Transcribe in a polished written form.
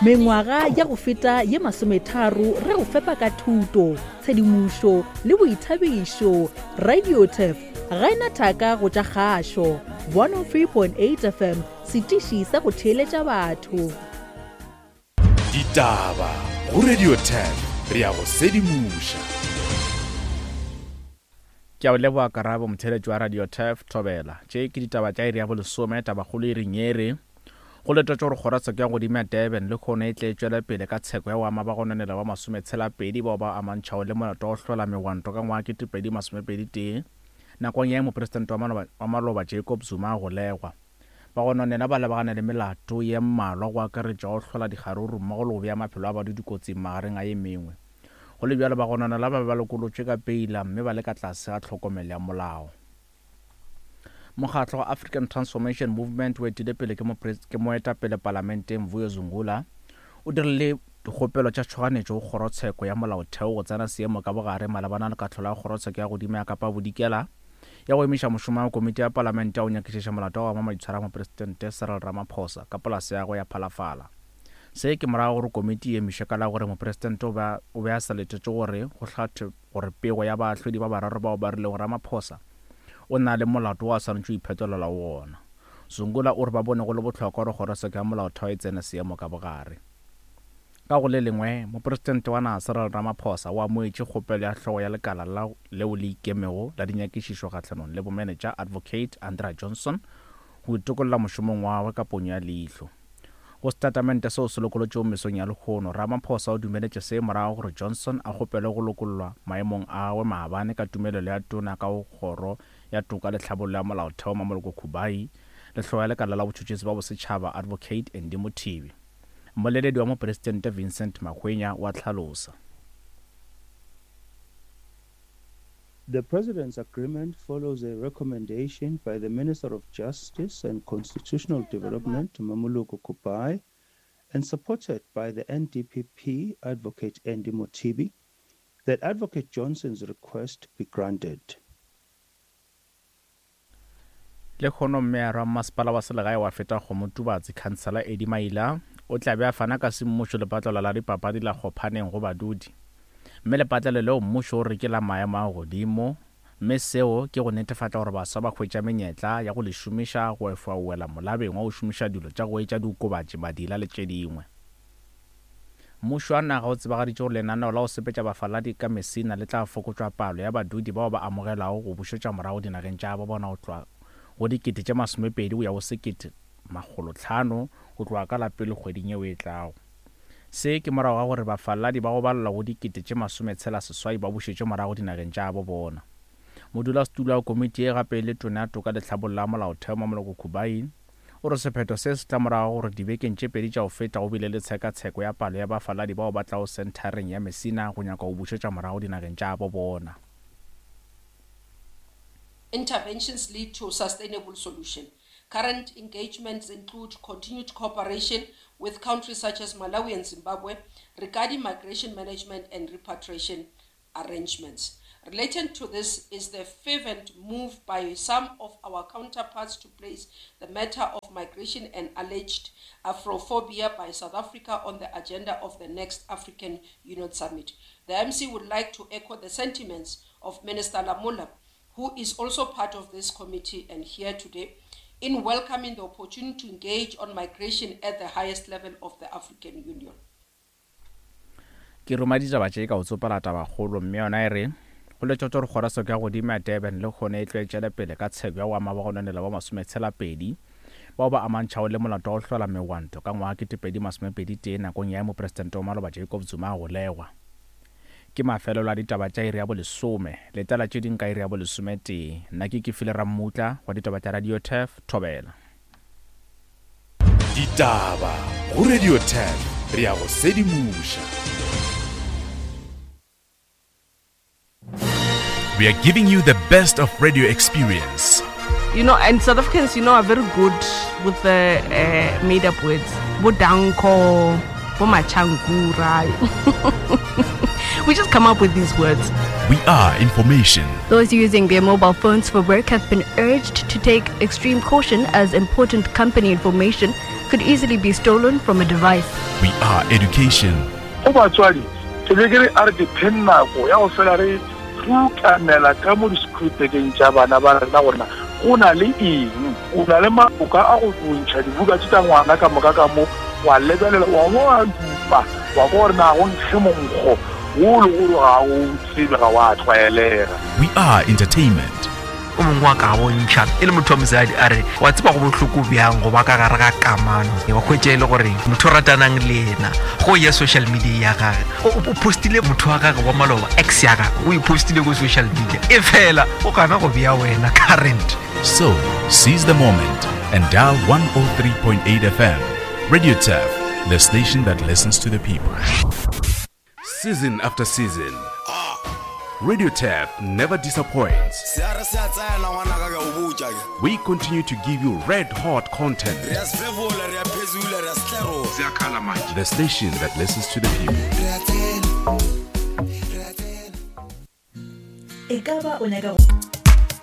Mengwaga ya go feta ye masometharo re go fepa ka thuto, tshedimošo le boithabišo. RadioTurf ga e na thaka go tša kgašo. 103.8 FM, setiši sa go theeletša batho. Ditaba go Radio 10 re a go sedimoša. Ke a o leboga Karabo, motheeletši wa Radio Turf, Thobela. Tše ke ditaba tša iri ya bolesome, tabakgolo e reng ye re, Go letetšwe gore kgorotsheko ya godimo ya Durban lehono e tle e tšwele pele ka tsheko ya go ama bagononelwa ba masometshela-pedi bao ba amantšhago le molato wa go hlola megwanto ka ngwaga 2021 nakong ya ge mopresidente wa maloba Jacob Zuma a golegwa. Bagononelwa ba lebagane le melato ye mmalwa go akaretša go hlola dikgaruru mmogo le go bea maphelo a badudi kotsing magareng a ye mengwe. Go le bjalo, bagononelwa ba be ba lokolotšwe ka peila mme ba le ka tlase ga tlhokomelo ya molao. Mokgatlo wa African Transformation Movement o etile pele ke ke moetapele palamenteng Vuyo Zungula o dirile dikgopelo tša tšhoganetšo go kgorotsheko ya molaotheo go tsena seemo ka bogare malebana le kahlolo ya kgorotsheko ya godimo ya Kapa Bodikela ya go emiša mošomo wa komiti ya palamente ya go nyakišiša molato wa go ama maitshwaro a mopresidente Cyril Ramaphosa ka polase ya gagwe ya Phalafala. Se ke morago gore komiti e emišwe ka la gore mopresidente o be o be a sa letetše gore go hlathwe gore pego ya baahlodi ba bararo bao ba rilego Ramaphosa o na le molato wo a swanetše go iphetolela go wona. Zungula o re ba bone go le bohlokwa gore kgorotsheko ya molaotheo e tsene seemo ka bogare. Ka go le lengwe, Mopresidente wa naga Cyril Ramaphosa o amogetše kgopelo ya hlogo ya lekala la leo le ikemego la dinyakišišo kgahlanong le bomenetša Advocate Andrea Johnson go itokolla mošomong wa gagwe ka ponyo ya leihlo. Go setatamente seo se lokolotšwego mesong ya lehono, Ramaphosa o dumeletše se morago gore Johnson a kgopelwe go lokollwa maemong a gagwe maabane ka tumelelo ya Tona ka go Kgoro ya Toka le Tlhabollo ya Molaotheo Mamoloko Kubayi le Hlogo ya Lekala la Botšhotšhisi ba Bosetšhaba Advocate Andy Mothibi. Mmoleledi wa Mopresidente Vincent Magwenya o a hlalosa. The President's agreement follows a recommendation by the Minister of Justice and Constitutional Development, Mamuluko Kubai, and supported by the NDPP Advocate Andy Motibi, that Advocate Johnson's request be granted. Lehono Meyara wa Mmasepala wa Selegae wa Fetakgomo Tubatse, Khansela Eddie Maila, o tla be a fana ka semmušo lepatlelo la dipapadi la Kgophaneng go badudi. Mme lepatlelo leo mmušo o re ke la maemo a godimo, mme seo ke go netefatša gore baswa ba hwetša menyetla ya go le šomiša go efoga go wela molabeng wa go šomiša dilo tša go etša diokobatši, madila le tše dingwe. Mmušo wa naga o tsebagaditše gore lenaneo la go sepetša bafaladi ka Messina le tla fokotšwa palo ya badudi bao ba amogelwago go bušetšwa morago dinageng tša gabo bona go tloga go dikete tše masomepedi go ya go sekete makgolotlhano go tloga ka la pele kgweding yeo e tlago. Se ke morago ga gore bafaladi ba go balelwa go dikete tše masometshela seswai ba bušetšwe morago dinageng tša gabo bona. Modulasetulo wa komiti ye gape e le Tona ya Toka le Tlhabollo ya Molaotheo Mamoloko Kubayi O re sephetho se se tla morago gore dibekeng tše pedi tša go feta go bile le tshekatsheko ya palo ya bafaladi bao ba tlago senthareng ya Messina go nyaka go bušetša morago dinageng tša gabo bona. Interventions lead to sustainable solution. Current engagements include continued cooperation with countries such as Malawi and Zimbabwe regarding migration management and repatriation arrangements. Relating to this is the fervent move by some of our counterparts to place the matter of migration and alleged Afrophobia by South Africa on the agenda of the next African Union Summit. The MC would like to echo the sentiments of Minister Lamola, who is also part of this committee and here today, in welcoming the opportunity to engage on migration at the highest level of the African Union. Ke ruma ditaba tše ka go tsopela tabakgolo mme yona e re, Go letšatšo gore kgorotsheko ya godimo ya Durban lehono e tlo e tšwele pele ka tsheko ya go ama bagononelwa ba masometshela-pedi bao ba amantšhago le molato wa go hlola megwanto ka ngwaga 2021 nakong ya ge mopresidente wa maloba Jacob Zuma a golegwa. Ke mafelelo a ditaba tša iri ya bolesome. Letela tše ding ka iri ya bolesometee. Nna ke Kefile Rammutla wa ditaba tša Radio Turf, Thobela. Ditaba go Radio 10 re a go sedimoša. We are giving you the best of radio experience. You know, and South Africans, you know, are very good with the uh, made up words. Bodanko, Bomachankura. we just come up with these words. We are information. Those using their mobile phones for work have been urged to take extreme caution as important company information could easily be stolen from a device. We are education. Go batswadi, ke be ke re a re ke pheng nako ya go fela re rutamela ka mo di-schoolbageng tša bana ba rena gore na go na le eng. O na le maboka a go ntšha dibuka tše tša ngwana ka moka ka mo, wa lebelela, wa bo wa dupa, wa kwa gore na go nkge monkgo wo le gore ga o tsebe, ga wa tlwaelega. We are entertainment. O mongwe wa ka bontšha e le motho wa mosadi a re wa tseba go bohloko bjang go ba ka gare ga kamano wa hwetša e le gore motho o ratanang le yena go ya social media ya gage o postile motho wa gage wa maloba ex ya gage o e postile ko social media e fela o gana go bea wena current. So, seize the moment and dial 103.8 FM. Radio Turf, the station that listens to the people. Season after season, Radio Turf never disappoints. We continue to give you red hot content. The station that listens to the people. E ka ba o nyaka go.